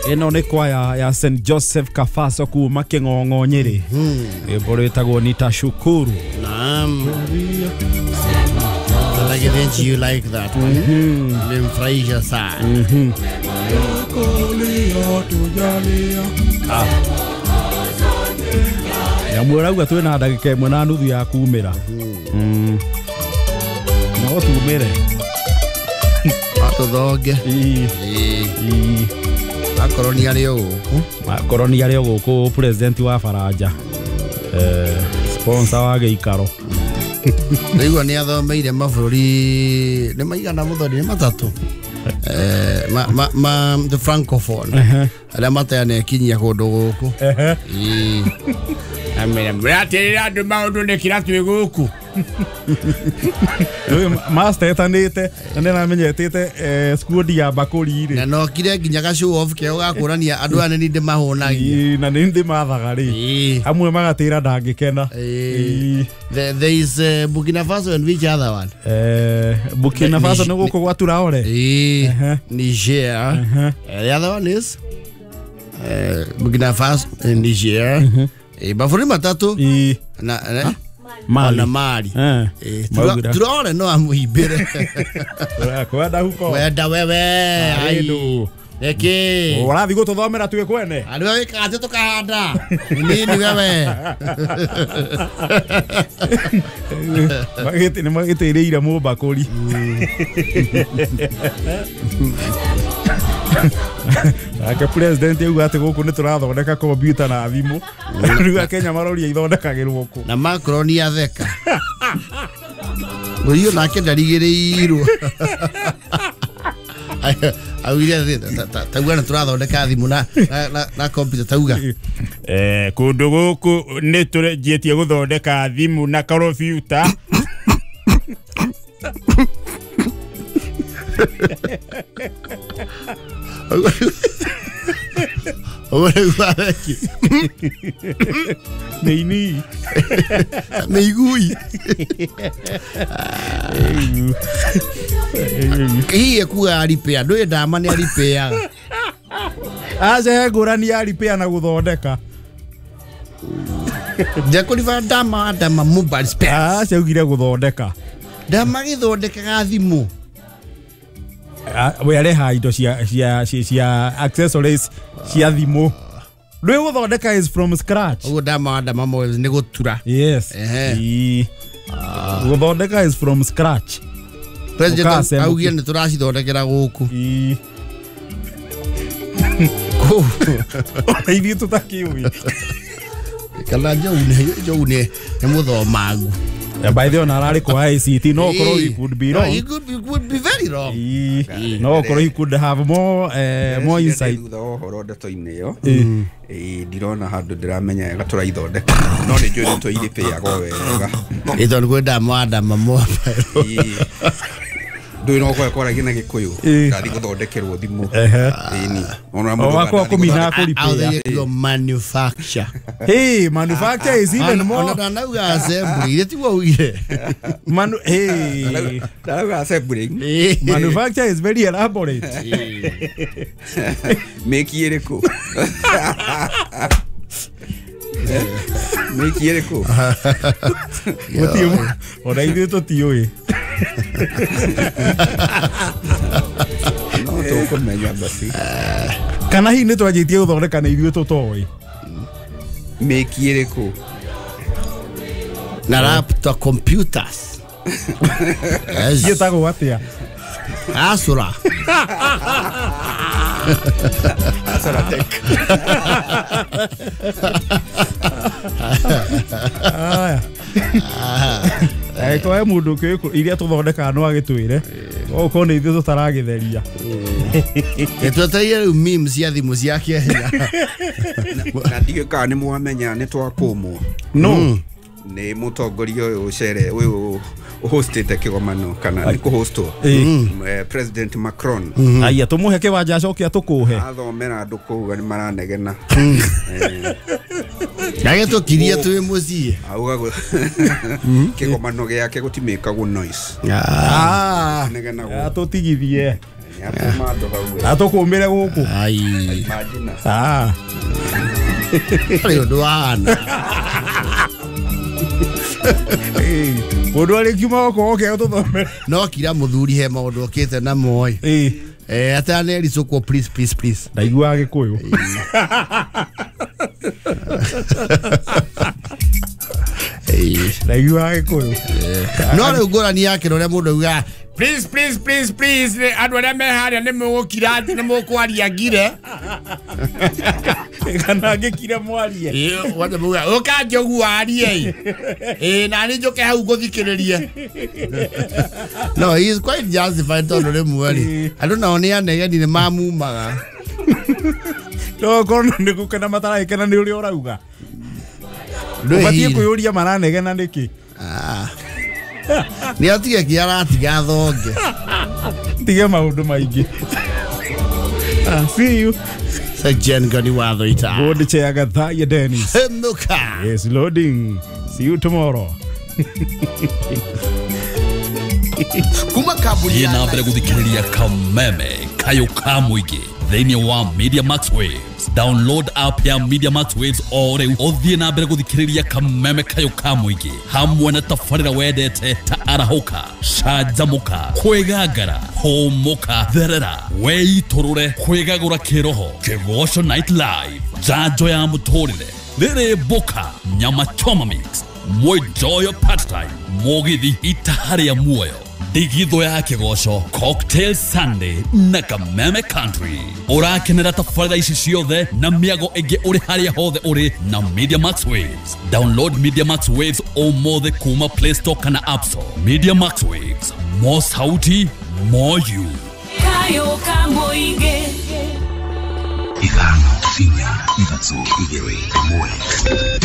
Ĩno nĩ kwaya ya St Joseph Kafaso kuma Kĩng'ong'o Nyĩrĩ. Rwĩmbo rwĩtagwo Nitashukuru. Naam. Like it, you like that one. Nimfurahisha sana. Nyamũ ũrauga twĩna ndagĩka ĩmwe na nuthu ya kumĩra. No tumĩre. Atũthonge. Akorwo nĩ arĩ o gũkũ. Akorwo nĩ arĩ o gũkũ president wa Faranja. Sponsor wa gĩikaro. Rĩu nĩ athomeire mabũrũri nĩ maigana mũthoni nĩ matatũ. Ma the francophone. Arĩa mateanekinyia kũndũ gũkũ. Amera mũratĩrĩra andũ maũndũ nĩ kĩra twĩ gũkũ. Master etanĩte na nĩ aramenyetete squad ya bakũri rĩ. Na nokire nginya ga show off keo gakũrania andũ aya nĩ ndĩmahũnagia. Na nĩ ndĩmathaga rĩ. Amwe magatĩra ndangĩkena. There is Burkina Faso and which other one? Burkina Faso nĩ gũkũ gwa Traore. Niger. The other one is Burkina Faso and Niger. Mabũrũri matatũ na Mali. Na Mali. Traore no amũhimbĩre. Kwenda huko. Kwenda wewe. Ai. Eki. Ũrathiĩ gũtũthomera twĩ kwene. Andũ wĩkaga atĩ tũkahanda. Nini wewe. Magĩtĩ nĩ magĩtĩrĩire mũmbakũri. Nake president auga atĩ gũkũ nĩ tũrathondeka kompiuta na thimũ. Rĩu Akenya maroria ithondekagĩrwo kũ. Na Macron atheka. Ũyũ nake ndarigĩrĩirwo. Augire tauga nĩ tũrathondeka thimũ na kompiuta tauga. Kũndũ gũkũ nĩ tũrĩnjĩtie gũthondeka thimũ na kompiuta. Nĩini. Mĩigui. Hihi ekuga repair ndũĩ ndama nĩ repair. Aca he ngũrani ya repair na gũthondeka. Ndekũriba ndama ndama mobile spares. Aca augire gũthondeka. Ndama gĩthondekaga thimũ. We areha indo cia accessories cia thimũ. Rĩu gũthondeka is from scratch. Ũguo ndama ndama mobile nĩ gũtura. Yes. Gũthondeka is from scratch. President augire nĩ tũracithondekera gũkũ. Ona ithuĩ tũtakĩũĩ. Kana Joe nĩ mũthomangu. Yeah, by the way, ararĩ kwa ICT no korwo he could be wrong. He could be very wrong. No korwo he could have more more insight. Thutha wa ũhoro ndeto-inĩ ĩyo ndirona handũ ndĩramenya wega tũraithondeka no nĩ njũĩ nĩ tũirĩpĩaga wega. Ĩtondũ kwĩ ndama ndama mobile. Ndũĩ no kwaragia na Gĩkũyũ ndathiĩ gũthondekerwo thimũ. Ĩni. Ona mũndũ wakwa kũmina kũripĩa. Manufacture. Hey, manufacture is even more. Ona ndanauga assembly, ile tiguo ugire. Hey. Ndarauga assembly. Manufacture is very elaborate. Meki ĩrĩkũ? Meki ĩrĩkũ? Gũtiũ. Ona ithuĩ tũtiũĩ. No tũkũmenya basi. Kana hihi nĩ twanjĩtie gũthondeka na ithuĩ tũtoĩ. Meki ĩrĩkũ? Na laptop computers. Ciĩtagwo atĩa? Asura. Asura Tech. Aya. Angĩkorwo he mũndũ ũkĩũĩ iria tũthondekaga no agĩtwĩre okorwo nĩ ithuĩ tũtaragĩtheria. Twetereire rĩu memes cia thimũ cia Kenya. Na ndiũĩ kana nĩ mwamenya nĩ twakũmwo. No. Nĩ mũtongoria ũyũ ũcere ũyũ hostete kĩgomano kana nĩ kũhostwo President Macron. Aya tũmũhe kĩwanja acoke atũkũhe. Athomera andũ kũu nĩ maranegena. Agĩtũkirie twĩ mũciĩ. Auga kĩgomano gĩake gũtimĩkagwo noise. Negenagwo. Atũtigithie. Atũkũmĩre gũkũ. Ai. Imagine. Ah. Rĩu ũndũ wahana. Mũndũ arĩkiuma gũkũ oke ũtũthomere. No kira mũthuri he maũndũ okĩte namo ĩ. Ĩĩ. Atanericũkwo please please please. Ndaiguaga Gĩkũyũ. Ndaiguaga Gĩkũyũ. No rĩu ngũrani yake na ũrĩa mũndũ augaga please please please please andũ arĩa me harĩa nĩ mũgũkira nĩ mũkwaria ngire. Kana ngĩkire mwarie. Ĩĩ wothe muga ũka njogu warie. Ĩĩ na nĩ njũke hau ngũthikĩrĩrie. No, he is quite justified tondũ rĩmwe rĩ andũ nao nĩ anegeni nĩ mamumaga. No korwo nĩ gũkena mataragĩkena nĩ ũrĩa ũrauga. Ũbatiĩ kwĩyũria maranegena nĩkĩ. Nĩ atige kĩaratiga thonge. Tige maũndũ maingĩ. See you. Sir Jen Gani Wathoita. Board chair Gathaya Dennis. Muka. Yes, loading. See you tomorrow. Kuma kambuni ya mbere guthikiriria Kameme kayo ka muingi thiini wa Media Max Waves. Download app ya Media Max Waves o riu uthie na mbere guthikiriria Kameme kayo ka muingi hamwe na tabarira wendete ta arahuka, canjamuka, kwigangara, humuka, therera, weiturure, kwigagura kiroho, Kigoco Night Live, njanjo ya muturire, riri mbuka, nyama choma mix, mwijoyo part time, mugithi itaharia muoyo, ndigitho ya Kigoco, Cocktail Sunday na Kameme Country. Urakenera tabarira ici ciothe na miago ĩngĩ ũrĩ harĩa hothe ũrĩ na Media Max Waves. Download Media Max Waves ũmũthĩ kuma Play Store kana App Store. Media Max Waves, more sauti, more you. Kayo kamoinge. 5 4 3 2 1.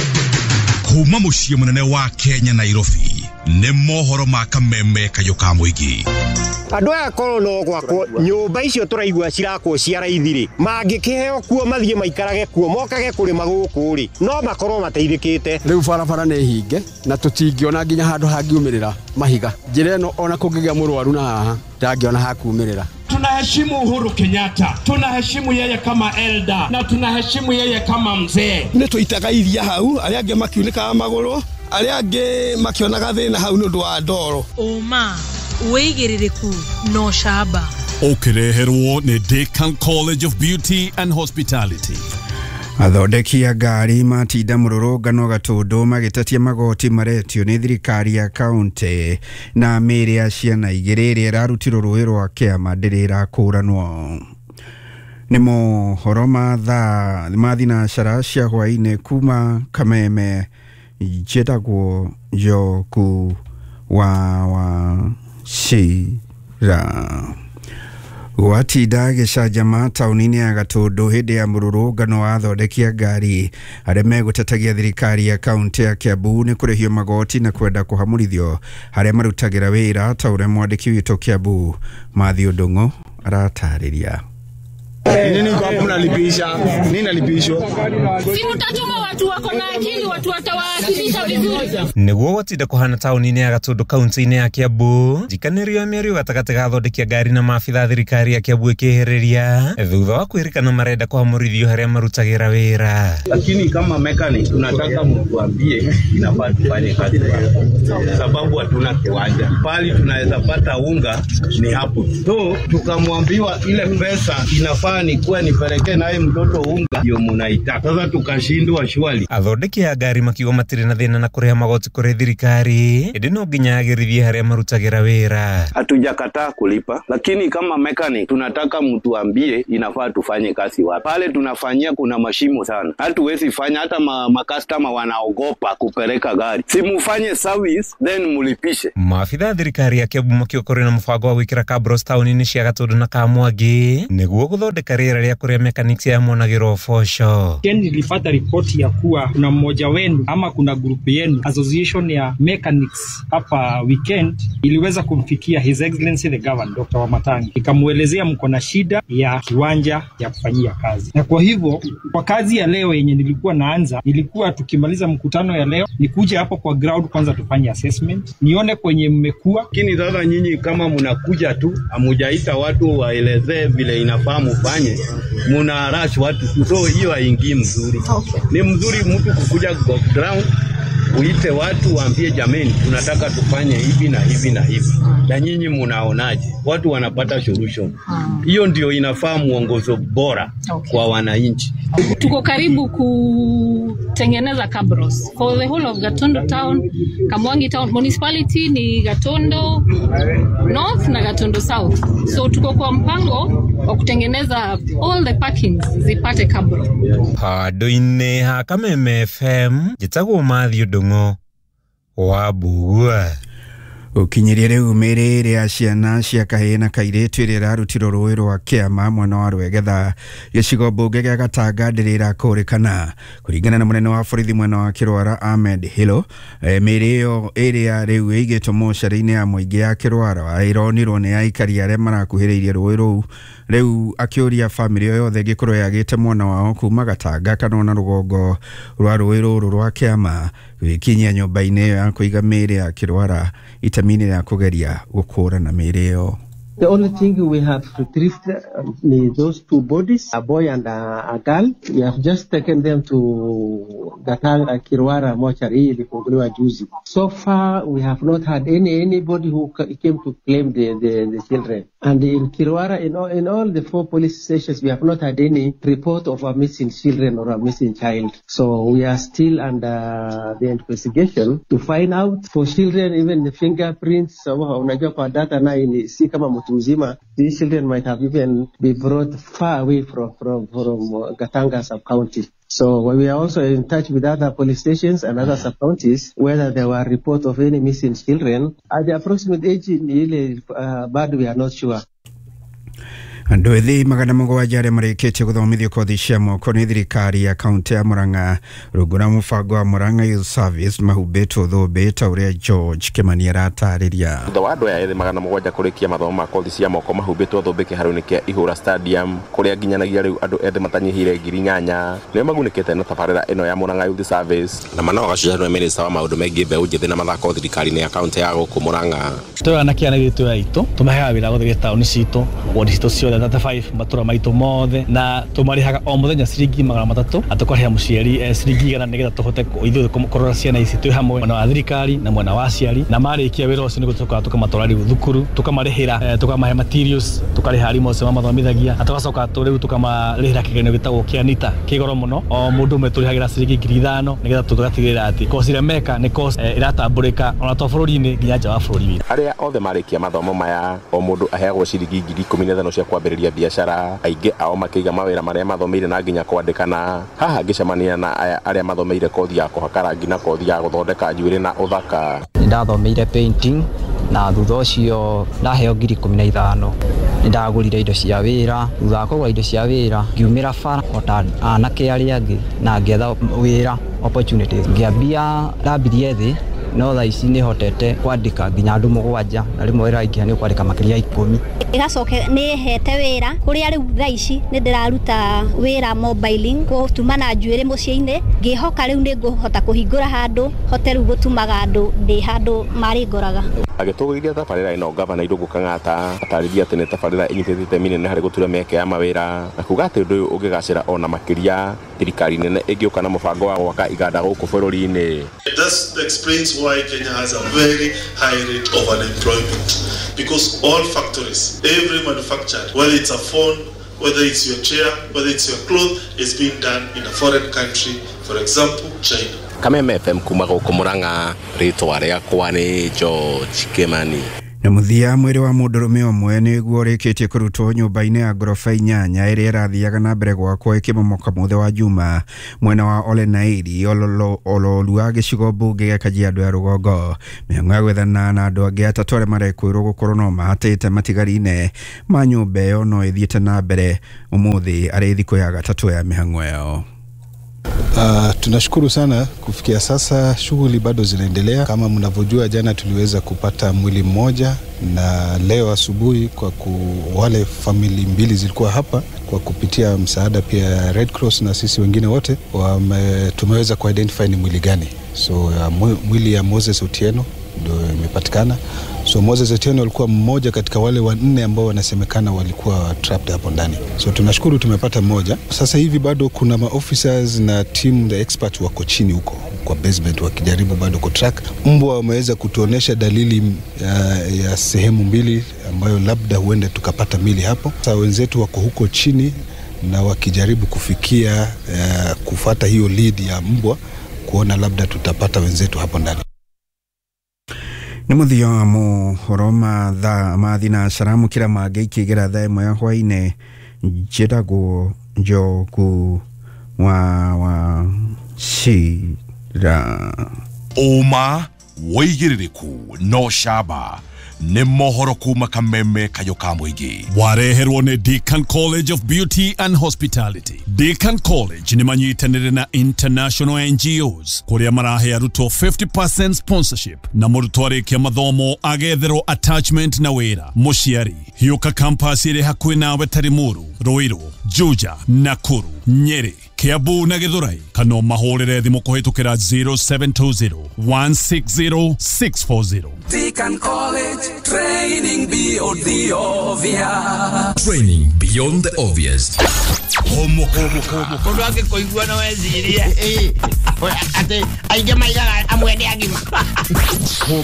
Kuma muciĩ mũnene wa Kenya Nairobi nĩ mohoro ma Kameme kayo ka mũingĩ. Andũ aya korwo no gwakwo nyũmba icio tũraigua cirakwo cia raithi rĩ mangĩkĩheo kuo mathiĩ maikarage kuo mokage kũrĩma gũkũ rĩ no makorwo mateithĩkĩte. Rĩu barabara nĩ hinge na tũtingĩona nginya handũ hangiumĩrĩra mahiga. Njĩra ĩno ona kũngĩgĩa mũrwaru na haha ndangĩona hakumĩrĩra. Tunaheshimu Uhuru Kenyatta, tunaheshimu yeye kama elder na tunaheshimu yeye kama mzee. Nĩ tũitaga iria hau arĩa angĩ makiunĩkaga magũrũ arĩa angĩ makĩonaga thĩna hau nĩ ũndũ wa ndoro. Ũma wĩigĩrĩrĩku no camba. Ũkĩreherwo nĩ Decan College of Beauty and Hospitality. Athondeki a ngari matinda mũrũrũngano Gatũndũ magĩtetia magoti maretio nĩ thirikari ya kaunti na mĩĩrĩ ya ciana igĩrĩ ĩrĩa ĩrarutirwo rũĩ rwa Kĩama ndĩrĩ ĩrakũranwo. Nĩ mohoro ma thaa ma thinacara cia hwaĩ-inĩ kuma Kameme. Njĩtagwo Njoku wa Wachira. Gwatinda gĩcanjama taũni-inĩ ya Gatũndũ hĩndĩ ya mũrũrũngano wa athondeki a ngari arĩa megũtetagia thirikari ya kaunti ya Kiambu nĩ kũrĩhio magoti na kwenda kũhamũrithio harĩa marutagĩra wĩra ta ũrĩa mwandĩki witũ Kiambu Matthew Ndung'u aratarĩria. Nini kwa hapo mnalipisha? Nini nalipishwa? Si mtatuma watu wako na akili, watu watawakilisha vizuri. Niguo gwatinda kuhana tauni-inĩ ya Gatũndũ kaunti-inĩ ya Kiambu njikanĩrio ya mĩario gatagatĩ ga athondeki a ngari na maabitha a thirikari ya Kiambu ĩkĩhĩrĩria thutha wa kwĩrĩkana marenda kũhamũrithio harĩa marutagĩra wĩra. Lakini kama mechanic tunataka mtuambie inafaa tufanye kazi sababu hatuna kiwanja pali tunaweza pata unga ni hapo tu. Tukamwambiwa ile pesa inafaa ni kuwa nipeleke naye mtoto unga ndio munaitaka. Sasa tukashindwa shwali. Athondeki a ngari makiuga matirĩ na thĩna na kũrĩha magoti kũrĩ thirikari ĩndĩ no nginya agĩrithie harĩa marutagĩra wĩra. Hatujakataa kulipa, lakini kama mechanic tunataka mtuambie inafaa tufanye kazi wapi. Pale tunafanyia kuna mashimo sana, hatuwezi fanya, hata makastoma wanaogopa kupeleka gari. Si mufanye service then mulipishe. Maabitha a thirikari ya Kiambu makiuga kũrĩ na mũbango wa gwĩkĩra kabros taũni-inĩ cia Gatũndũ na Kamwangi nĩguo gũthondeka Gũthondeka rĩera rĩa kũrĩa mechanics aya monagĩrwo ũboco. Nilipata ripoti ya kuwa kuna mmoja wenu ama kuna grupu yenu association ya mechanics hapa weekend iliweza kumfikia His Excellency the Governor Dr. Wamatangi, ikamuelezea mko na shida ya kiwanja ya kufanyia kazi, na kwa hivyo kwa kazi ya leo yenye nilikuwa naanza, nilikuwa tukimaliza mkutano ya leo nikuje hapo kwa ground kwanza tufanye assessment, nione kwenye mmekuwa. Lakini sasa nyinyi kama mnakuja tu amujaita watu waelezee vile inafaa mufanye, muna rush watu, so hiyo haingii mzuri. Okay. Ni mzuri mtu kukuja kwa ground uite watu waambie, jameni, tunataka tufanye hivi na hivi na hivi, na nyinyi munaonaje? Watu wanapata solution. Hiyo ndio inafaa muongozo bora. Okay. Kwa wananchi. Tuko karibu kutengeneza cabros for the whole of Gatondo town, Kamwangi town municipality ni Gatondo North na Gatondo South. So tuko kwa mpango wa kutengeneza all the parkings zipate cabro. Handũ-inĩ ha Kameme FM njĩtagwo Matthew Ndung'u wa Mbugua. Ukinyirie riu mĩĩrĩ ya ciana cia kahĩĩ na kairĩtu ĩrĩa ĩrarutirwo rũĩ rwa Kĩama mwena wa Rwegetha gĩcigo mbunge gĩa Gatanga ndĩrĩ ĩrakũrĩkana. Kũringana na mũnene wa borithi mwena wa Kĩrwara Ahmed Hilo, mĩĩrĩ ĩyo ĩrĩa rĩu ĩigĩtwo mocarĩ-inĩ ya mũingĩ ya Kĩrwara ĩronirwo nĩ aikari arĩa marakuhĩrĩirie rũĩ rũu. Rĩu akĩũria bamĩrĩ o yothe ĩngĩkorwo yagĩte mwana wao kuma Gatanga kana ona rũgongo rwa rũĩ rũrũ rwa Kĩama gwĩkinyia nyũmba-inĩ ĩyo ya kũiga mĩĩrĩ ya Kĩrwara itemi-inĩ rĩa kũgeria gũkũrana mĩĩrĩ ĩyo. The only thing we have retrieved is those two bodies, a boy and a girl. We have just taken them to Gatanga Kirwara mortuary ilifunguliwa juzi. So far we have not had anybody who came to claim the children. And in Kirwara, in all the 4 police stations, we have not had any report of a missing children or a missing child. So we are still under the investigation to find out for children, even the fingerprints. Unajua kwa data na si kama mtu mzima, these children might have even be brought far away from Gatanga sub-county. So we are also in touch with other police stations and other sub-counties whether there were reports of any missing children. At the approximate age, bado we are not sure. Andũ ethĩ 700 arĩa marĩkĩtie gũthomithio kothi cia moko nĩ thirikari ya kaunti ya Murang'a rungu rwa mũbango wa Murang'a Youth Service mahumbĩtwo thũmbĩ ta ũrĩa George Kĩmani aratarĩria. Thutha wa andũ aya ethĩ 700 kũrĩkia mathomo ma kothi cia moko mahumbĩtwo thũmbĩ kĩharo-inĩ kĩa Ihũra Stadium kũrĩa nginyanagia rĩu andũ ethĩ matanyihĩire 8,000 nĩo magunĩkĩte na tabarĩra ĩno ya Murang'a Youth Service. Na Manoa Gacuca nĩwe mĩnĩsta wa maũndũ megiĩ mbeũ njĩthĩ na mathako thirikari-inĩ ya kaunti ya gũkũ Murang'a. Twĩ anake aya aitũ aitũ tũmaheaga wĩra gũthiĩ taũni citũ wodi citũ ciothe 35 matura maitũ mothe na tũmarĩhaga o mũthenya ciringi 300 na tũkarĩha mũciari ciringi 100 nĩgetha tũhote ithuĩ kũrora ciana ici twĩ hamwe mwena wa thirikari na mwena wa aciari na marĩkia wĩra ũcio nĩguo tũcokaga tũkamatwara rĩu thukuru tũkamarĩhĩra tũkamahe materials tũkarĩha arimũ acio mamathomithagia na tũgacoka rĩu tũkamarĩhĩra kĩgeranio gĩtagwo kĩa NITA kĩ goro mũno o mũndũ ũmwe tũrĩhagĩra ciringi 5,000 nĩgetha tũgatigĩrĩra atĩ kosi ĩrĩa meka nĩ kosi ĩratambũrĩka ona to bũrũri-inĩ nginya nja wa bũrũri witũ. Arĩa othe marĩkia mathomo maya o mũndũ aheagwo ciringi 15,000 cia kwambĩrĩria biacara, aingĩ ao makĩiga mawĩra marĩa mathomeire na nginya kwandĩkana. Haha ngĩcemania na aya arĩa mathomeire kothi ya kũhaka rangi na kothi ya gũthondeka njuĩrĩ na ũthaka. Nĩndathomeire painting na thutha ũcio ndaheo 15,000. Nĩndagũrire indo cia wĩra, thutha wa kũgũra indo cia wĩra ngiumĩra bara o ta anake arĩa angĩ na ngĩetha wĩra opportunities. Ngĩambia ndambirie thĩ no thaa ici nĩhotete kwandĩka nginya andũ 7 na rĩmwe wĩra waingĩha nĩ ũkwandĩka makĩria ya 10. Ĩgacoka nĩ ĩhete wĩra kũrĩa rĩu thaa ici nĩ ndĩraruta wĩra mobiling gũtuma njuĩrĩ mũciĩ-inĩ ngĩhoka rĩu nĩ ngũhota kũhingũra handũ hote rĩu gũtumaga andũ ndĩ handũ marĩngoraga. Agĩtũgĩria tabarĩra ĩno gavana Irũngũ Kang'ata atarĩria atĩ nĩ tabarĩra ĩnyitĩte itemi inene harĩ gũtura mĩeke ya mawĩra na kuga atĩ ũndũ ũyũ ũngĩgacĩra ona makĩria thirikari nene ĩngĩũka na mũbango wa gwaka iganda gũkũ bũrũri-inĩ. That explains why Kenya has a very high rate of unemployment, because all factories, every manufacturer, whether it's a phone, whether it's your chair, whether it's your cloth, is being done in a foreign country, for example, China. Kameme FM kuma gũkũ Murang'a, rĩtwa rĩakwa nĩ George Kimani. Na mũthia mwĩrĩ wa mũndũrũme ũmwe nĩguo ũrĩkĩtie kũrutwo nyũmba-inĩ ya ngoroba 8 ĩrĩa ĩrathiaga na mbere gwakwo ĩkĩmomoka mũthĩ wa Juma mwena wa Olenairi Ololua gĩcigo mbunge gĩa Kajiado ya rũgongo. Mĩhang'o ya gwethana na andũ angĩ atatũ arĩa marekwĩrwo gũkorwo no mahatĩte matigari-inĩ ma nyũmba ĩyo no ĩthiĩte na mbere ũmũthĩ arĩ thikũ ya gatatũ ya mĩhang'o ĩyo. Tunashukuru sana kufikia sasa shughuli bado zinaendelea. Kama mnavyojua, jana tuliweza kupata mwili mmoja na leo asubuhi kwa wale famili mbili zilikuwa hapa kwa kupitia msaada pia Red Cross na sisi wengine wote tumeweza kuidentify ni mwili gani. So mwili ya Moses Otieno ndio imepatikana. So Moses Otieno alikuwa mmoja katika wale wanne ambao wanasemekana walikuwa trapped hapo ndani. So tunashukuru tumepata mmoja. Sasa hivi bado kuna maofficers na team the experts wako chini huko kwa basement wakijaribu bado kutrack. Mbwa wameweza kutuonesha dalili ya sehemu mbili ambayo labda huenda tukapata mili hapo. Sasa wenzetu wako huko chini na wakijaribu kufikia kufuata hiyo lead ya mbwa kuona labda tutapata wenzetu hapo ndani. Nĩ mũthia wa mohoro ma thaa ma thinacara mũkĩra mangĩ ikĩgera thaa ĩmwe ya hwaĩ-inĩ. Njĩtagwo Njogu wa Wachira. Ũma wĩigĩrĩrĩku no camba nĩ mohoro kuma Kameme Kayũ ka mũingĩ. Wareherwo nĩ Deacon College of Beauty and Hospitality. Deacon College nĩ manyitanĩire na international NGOs kũrĩa marahe arutwo 50% sponsorship na mũrutwo arĩkia mathomo agetherwo attachment na wĩra. Mũciari hiũka campus ĩrĩ hakuhĩ nawe ta Limuru, Ruiru, Juja, Nakuru, Nyeri, Kiambu na Githurai, kana mahũrĩre thimũ kũhĩtũkĩra 0720 160 640. Deacon College, training beyond the obvious. Training beyond the obvious. Mũndũ angĩkũigua no ecirie atĩ aingĩ maigaga amwe nĩ agima. O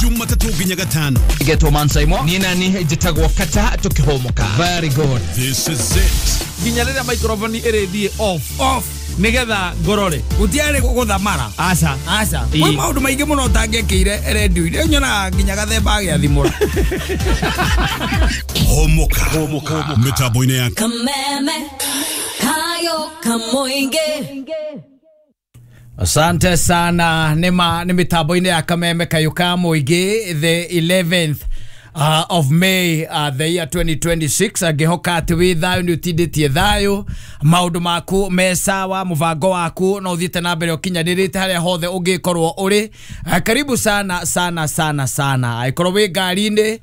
Jumatatũ nginya Gatano. Getwo Mansaimo. Niĩ nani njĩtagwo Kata tũkĩhũmũka. Very good. This is it. Nginya rĩrĩa microphone ĩrĩthiĩ off nigetha ngorore gutiarĩ gũthamara. Aca aca kwĩ maũndũ maingĩ mũno ũtangĩkĩire redio-inĩ nyonaga nginya gathemba agĩathimũra. Homoka mĩtambo-inĩ ya Kameme Kayo Kamoinge. Asante sana. Nĩ mĩtambo-inĩ ya Kameme Kayo ka Mũingĩ, the 11th of May the year 2026. Angĩhoka atĩ wĩ thayũ nĩ ũtindĩtie thayũ, maũndũ maku me sawa, mũbango waku no ũthiĩte na mbere ũkinyanĩrĩte harĩa hothe ũngĩkorwo ũrĩ. Karibu sana sana sana sana. Angĩkorwo wĩ ngari-inĩ,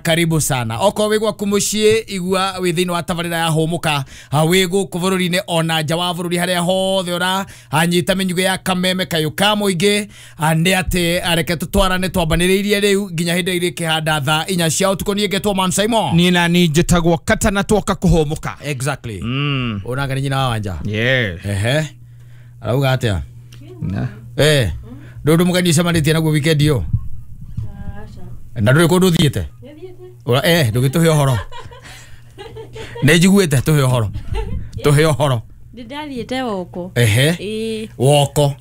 karibu sana. Okorwo wĩ gwaku mũciĩ, igua wĩ thĩinĩ wa tabarĩra ya hũmũka, wĩ gũkũ bũrũri-inĩ ona nja wa bũrũri harĩa hothe ũranyita mĩnyugĩ ya Kameme Kayũ ka Mũingĩ, nĩ atĩ reke tũtwarane twambanĩrĩirie rĩu nginya hĩndĩ ĩrĩa ĩkĩhanda thaa 4 cia ũtukũ. Niĩ ngetwo Man Simon. Niĩ na niĩ njĩtagwo Kata na twoka kũhũmũka. Exactly. Ũnanga nĩ nyina wa Wanja. Yeah. Ehe. Arauga atĩa? Ndũndũ mũgeni ũcemanĩtie naguo weekend ĩyo? Na ndũrĩ kũndũ ũthiĩte? Ndũgĩtũhe ũhoro. Nĩ njiguĩte, tũhe ũhoro. Tũhe ũhoro. Ndĩrathiĩte woko. Ehe. Woko.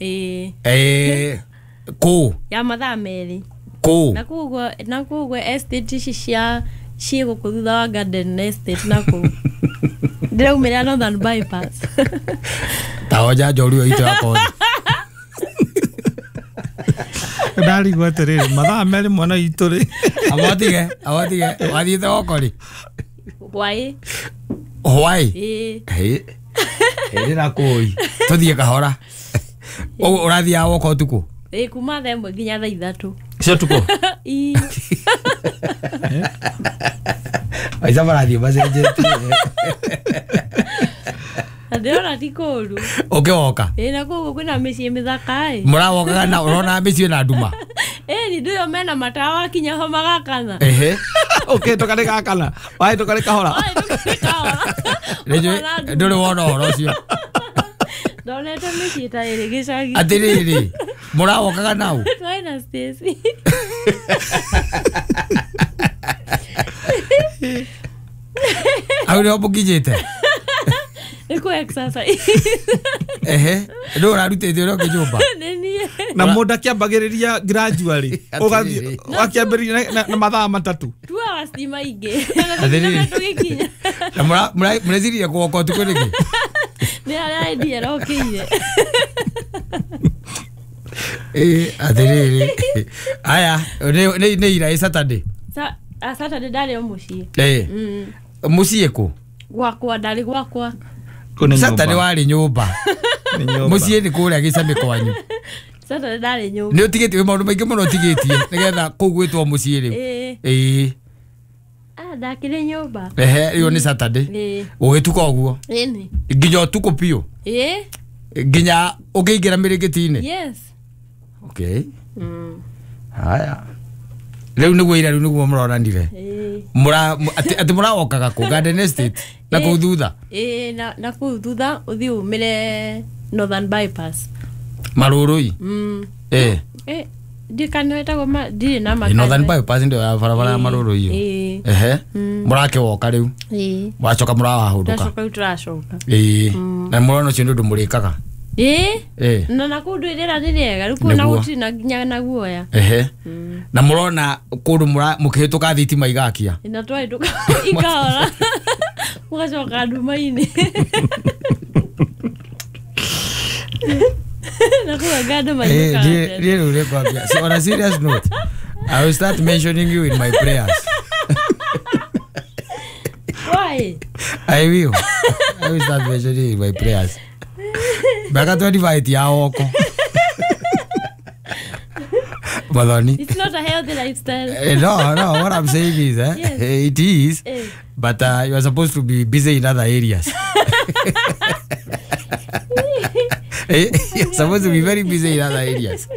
Kũ? Ya mathaa merĩ. Kũ? Na kũguo estate ici cia ciĩ gũkũ thutha wa Garden Estate na kũu. Ndĩraumĩra Northern Bypass. Ta oja njorua itũ ya kothi. Ndarigwo atĩrĩrĩ, mathaa merĩ mwana witũ rĩ. Awatige, wathiĩte woko rĩ? Hwaĩ. Hwaĩ? Ĩĩ. Ĩĩ na kũi. Tũthiĩ kahora. Ũguo ũrathiaga woko ũtukũ? Ĩĩ, kuma thaa 1 nginya thaa 3. Cia ũtukũ? Ĩĩ. Aica marathiĩ macenjetie. Ndĩrona ti kũũru. Ũkĩwoka? Ĩĩ, na kũu kwĩna mĩciĩ mĩthaka ĩ. Mũrawokaga na ũrona mĩciĩ na nduma? Ĩĩ, ndũyo mena matawa wakinya ho magakana. Ehe. Ũkĩhĩtũka nĩ gakana, wahĩtũka nĩ kahora. Ndũrĩ wona ũhoro ũcio. Ndonete mĩciĩ ta ĩrĩ gĩcagi. Atĩrĩrĩ, mũrawokaga nau? Twarĩ na Stacy. Hau nĩho mũkinyĩte? Nĩ kũ exercise. Ehe, ndũ ũrarutĩte ũrĩa ũngĩ nyũmba? Nĩ niĩ. Na mũndũ akĩambagĩrĩria gradually ũgathiĩ akĩambĩrĩria na mathaa 3. 2 hours ti maingĩ. Na tũgĩkinya. Na mũreciria kũgoka ũtukũ nĩkĩ? Nĩ harĩa idea ĩrokĩire. Atĩrĩrĩ. Aya, nĩ ira ĩ Saturday. Saturday ndarĩ o mũciĩ. Mũciĩ kũ? Gwakwa, ndarĩ gwakwa. Saturday warĩ nyũmba. Mũciĩ nĩ kũrĩa gĩcamĩ kwanyu. Saturday ndarĩ nyũmba. Nĩ ũtigĩtie maũndũ maingĩ mũno ũtigĩtie nĩgetha kũu gwĩtwo mũciĩ rĩu. Ĩĩ. Ndakĩrĩ nyũmba. Ehe, ĩyo nĩ Saturday. Ũgĩtuka ũguo? Ĩni. Nginya ũtukũ biũ? Ĩĩ. Nginya ũkĩingĩra mĩrĩngĩti-inĩ? Yes. Okay. Haya. Rĩu nĩguo ira rĩu nĩguo mũronanire. Atĩ mũrawokaga kũ Garden Estate na kũu thutha? Ĩĩ, na kũu thutha ũthiĩ umĩre Northern Bypass. Marũrũi? Ndikana wetagwo ndirĩ na makara. Northern Bypass ndio ya barabara ya Marũrũi ĩyo. Ehe. Mũrakĩwoka rĩu. Mwacoka mũrawahũndũka. Twacoka rĩu tũracoka. Ĩĩ. Na mũrona ũcio nĩ ũndũ mũrĩkaga. Ĩĩ. Na nakũu rĩera nĩ rĩega rĩu kũu na gũtirĩ na nginya na guoya. Ehe. Na mũrona kũndũ mũkĩhĩtũka thitima igakia. Na twahĩtũka ikahora. Mũgacoka nduma-inĩ. So on a serious note, I will start mentioning you in my prayers. Why? I will. I will start mentioning you in my prayers. Baka 25 ya oko. Madoni. It's not a healthy lifestyle. No, what I'm saying is, yes. It is, but you are supposed to be busy in other areas. You're supposed to be very busy in other areas.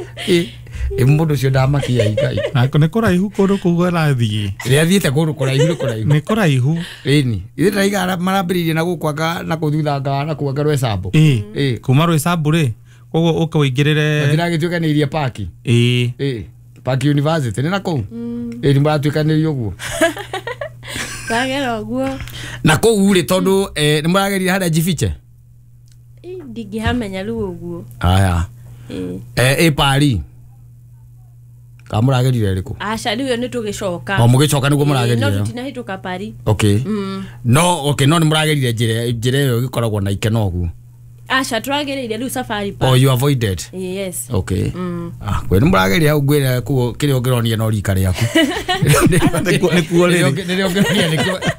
Mũndũ ũcio ndamakia ikai. Nĩ kũraihu kũndũ kũu arathiĩ. Rĩrĩa athiĩte kũndũ kũraihu nĩ kũraihu. Nĩ kũraihu. Ĩni. Ithuĩ tũraiga marambĩrĩirie na gũkũ anga na kũu thutha anga na kũu anga Rwecambu. Ĩĩ. Kuma Rwecambu rĩ, koguo ũke ũingĩrĩre. Matiragĩtuĩkanĩirie paki. Ĩĩ. Ĩĩ. Park University nĩ na kũu. Ĩĩ nĩ maratuĩkanĩirie ũguo. Twagera ũguo. Na kũu rĩ tondũ nĩ mũragerire harĩa Jifiche? Ndingĩhamenya rĩu ũguo. Aya. Ĩ Paris. Ka mũragerire rĩkũ? Aca rĩu nĩ tũgĩcoka. O mũgĩcoka nĩguo mũragerire. No tũtinahĩtũka Paris. Okay. No okay, no nĩ mũragerire njĩra ĩyo ĩgĩkoragwo na ikeno ũguo. Aca tũragereire rĩu Safari Park. Oh, you avoided. Yes. Okay. Ah, kwĩ nĩ mũrageria hau ngwĩre kuo kĩrĩa ũngĩronia no rika rĩaku. Nĩkuo rĩrĩ. Nĩrĩo ũngĩronia nĩkĩo.